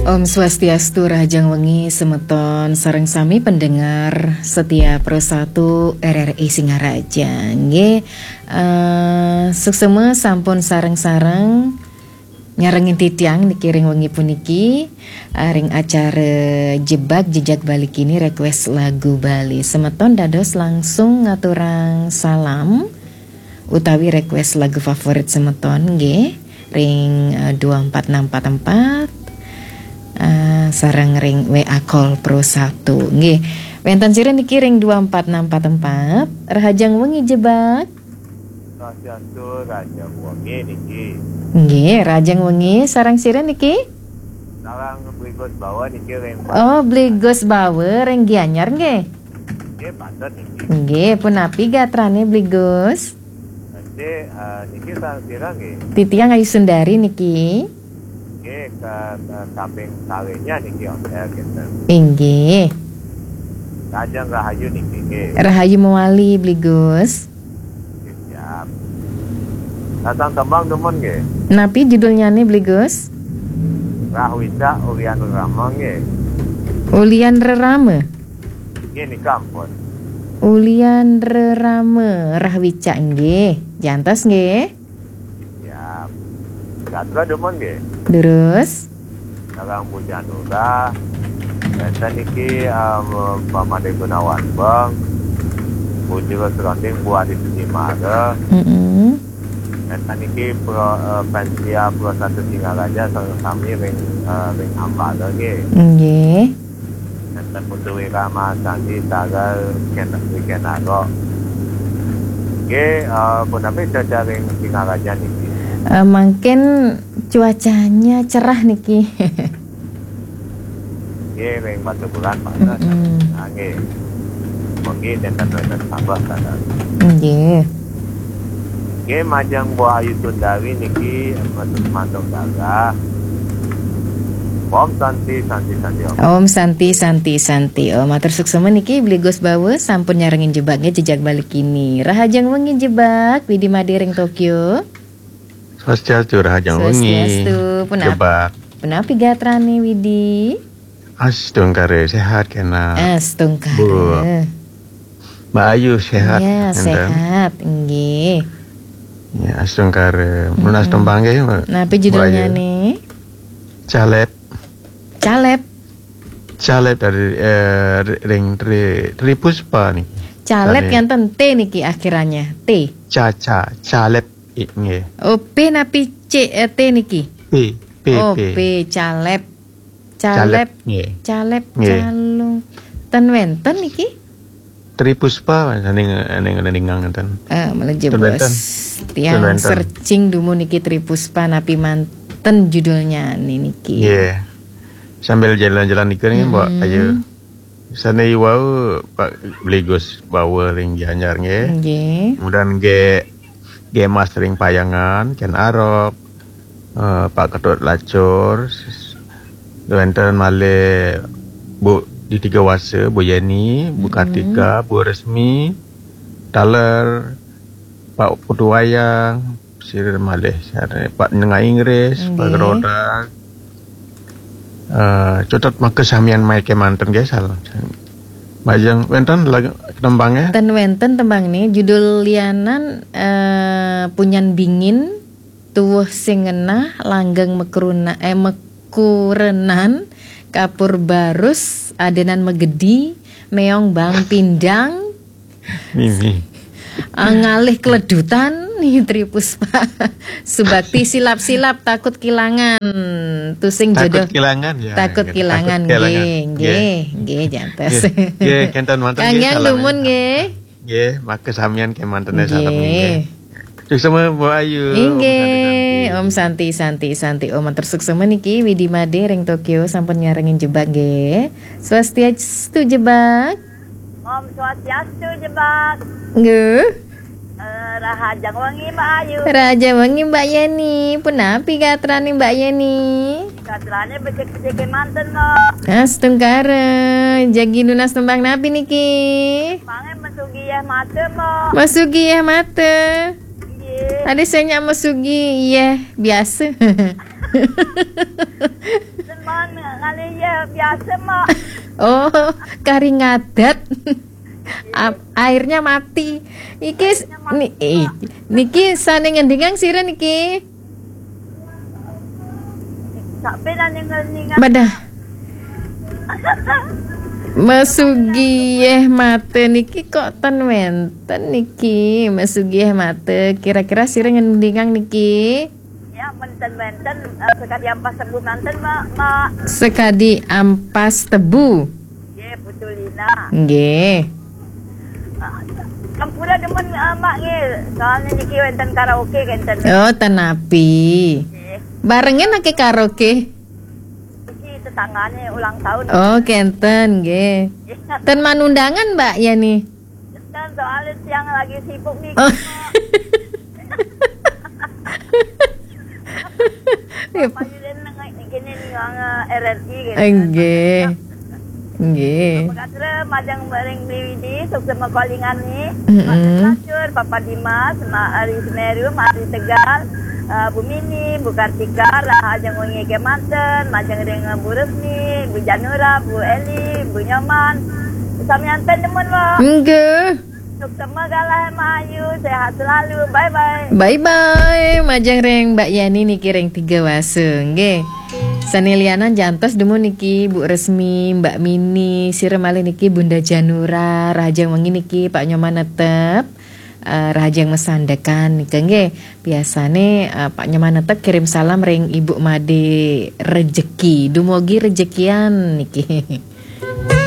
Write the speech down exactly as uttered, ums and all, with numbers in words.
Om Swastiastu, rahajeng wengi semeton sareng sami pendengar setia Pro satu R R I Singaraja. Nggih, eh, suksema sampun sareng-sareng nyarengin titiang niki ring wengi puniki, eh, ring acara Jebak Jejak Bali Kini, request lagu Bali. Semeton dados langsung ngaturang salam utawi request lagu favorit semeton nggih ring, eh, dua empat enam empat empat, eh, sareng ring W A Call Pro satu nggih. Wenten sira niki ring dua empat enam empat empat. Rahajeng wengi Jebak. Swastiastu, rahajeng wengi niki. Nggih, rahajeng wengi, sareng sira niki? Sareng Bli Gus Bawa niki ring. Oh, Bli Gus Bawa ring Gianyar nggih. Nggih, patut niki. Nggih, punapi gatrane Bli Gus? Nggih, eh, niki sareng sira nggih. Titiang Ayu Sundari niki. Nggih, ke, ke kaping kalihnya niki, Om, ya, gitu. Inggih. Rahajeng rahayu niki nggih. Rahayu mewali, Bli Gus. Nggih, siap. Datang tembang demen nggih. Napi judulnyane, Bli Gus? Rahwicak Ulian Rerama nggih. Ulian Rerama? Nggih, nika ampun. Ulian Rerama, Rahwicak nggih. Jantos nggih. Siap. Gatra demen nggih. Terus? Sareng Bu Janura. Wenten niki, em, Pak Made Gunawan Beng. Bu Jero Seronding, Bu Adi Sudimara. Mm-mm. Wenten niki Pro, eh, Pensia Pro satu Singaraja sareng sami ring, eh, ring Ambala nggih. Nggih. Wenten Putu Wira Mahasandi, Tagal, Ken, Ken Arok. Nggih, eh, punapi cuaca ring Singaraja niki? Eh, mangkin cuacanya cerah niki. Nggih, ring Batubulan panas. Mm-mm. Nah, nggih. Mungkin wenten wenten sabah sana. Nggih. Nggih, majeng Bu Ayu Sundari niki, masuk masuk gagah. Om Santi, Santi, Santi, Om. Om Santi, Santi, Santi. Om, matur suksema niki Bli Gus Bawa sampun nyarengin Jebak nggih, Jejak Bali Kini. Rahajeng wengi Jebak, Widi Made ring Tokyo. Swastiastu, rahajeng wengi. Swastiastu. Punap-, Jebak. Punapi gatrane Widi? Astungkara, sehat kena. Astungkara. Bu. Mbak Ayu sehat, ya, enten? Sehat, nggih. Ya, astungkara. Mm-mm. Nunas tembang nggih, Mbak. Napi judulnya Mbak Ayu? Nih? Calep. Calep. Calep dari, eh, ring Tri, Tri Puspa nih. Calep. Calep. Enten T niki akhirannya. T. Ca, ca, calep. I, nggih. Oh, P napi C, eh, T niki? P, P, oh, P. P, calep. Calep, calep, nggih. Calep, nggih. Calung. Ten wenten niki? Tri Puspa, ning, ning, ning ngenten. Eh, malah jebos. Ten wenten. Tiang searching dumun niki Tri Puspa napi manten judulnya niki. Nggih. Sambil jalan-jalan niki nih, Mbak, mm-mm, ayo. Sane wau Pak Bli Gus Bawa ring Gianyar nggih. Nggih. Kemudian nggih, nggih Mas ring Payangan, Ken Arok, eh, Pak Ketut Lacur, s-, wenten malih Bu Diti Gawasa, Bu Yeni, Bu, mm-mm, Kartika, Bu Resmi, taler, Pak Putu Wayang, sira malih, sira Pak Nengah Inggris, Pak, nggih, Gerodak. Eh, cutet maka samian mai kemanten nggih, salam. Majeng wenten lagu tembang ya? Ten wenten tembang nih, judul lianan, eh, Punyan Bingin, Tuwuh Sing Ngenah, Langgeng Mekruna-, eh, Mekurenan, Kapur Barus, Adenan Megedi, Meong Bang Pindang, Mimi. Ah, ngalih keledutan nih, Tri Puspa. Subakti silap-silap, takut kilangan. Tusing jodoh. Takut kilangan, ya, takut kilangan, nggih, nggih, nggih, jantos. Nggih, nggih, kenten manten, nggih, salam dumun, nggih. Nggih, maka samian kemanten, nggih, salam, nggih. Suksema, Bu Ayu. Inggih, Om Santi, Santi, Santi. Om, matur suksema niki, Widi Made ring Tokyo sampun nyarengin Jebak, nggih. Swastiastu, Jebak. Om Swastiastu, Jebak. Nggih. Eh, rahajeng wengi, Mbak Ayu. Rahajeng wengi, Mbak Yeni. Punapi gatrane Mbak Yeni? Gatrane becik-becik kemanten, Mbak. Astungkara, jagi nunas tembang napi niki? Mangke Mesugi Yeh Mata, Mbak. Mesugi Yeh Mata. Nggih. Tadi saya nyak Mesugi Yeh biasa. Teman ngalih ya biasa, Mak. Oh, kari ngadat. Ap- airnya mati. Iki s- ni, eh, niki sane ngendingang sira niki. Sampai lah ningal-ningal. Bedah. Mesugih mate niki kok ten wenten niki. Mesugih mate, kira-kira sira ngendingang niki. Ya, menten-menten, eh, sekadi ampas tebu manten, Mak. Mak. Sekadi ampas tebu. Ya, Putulina. Nggih. Kampura demen, eh, Mak, nggih. Soalnya niki wenten karaoke kenten. Oh, tenapi. Nggih. Barengan ake karaoke. Iki tetanggane ulang tahun. Oh, kenten nggih. Ten manundangan, Mbak Yani. Kan soalnya siang lagi sibuk nih. Oh. Payu den nengah gini nih, wong, eh, R R I gitu. Nggih. Nggih. Makasih majeng bareng B W D, sukses makolingan nih. Mm-mm. Pak Lacur, Papa Dimas, Mak Ari Semeru, Mak Ari Tegal, eh, Bu Mini, Bu Kartika, rahajeng wengi kemanten, majeng ring Bu Resmi, Bu Janura, Bu Eli, Bu Nyoman. Samianten demen, Wong. Nggih. Sukses galah Mayu, sehat selalu. Bye bye. Bye bye, majeng ring Mbak Yani niki ring Tiga Wase, nggih. Sane lianan jantos dumun niki Bu Resmi, Mbak Mini, sira malih niki Bunda Janura, rahajeng wengi niki Pak Nyoman Netep, eh, rahajeng masandekan niki nggih. Biasane, eh, Pak Nyoman Netep kirim salam ring Ibu Made Rejeki. Dumugi rejekian niki.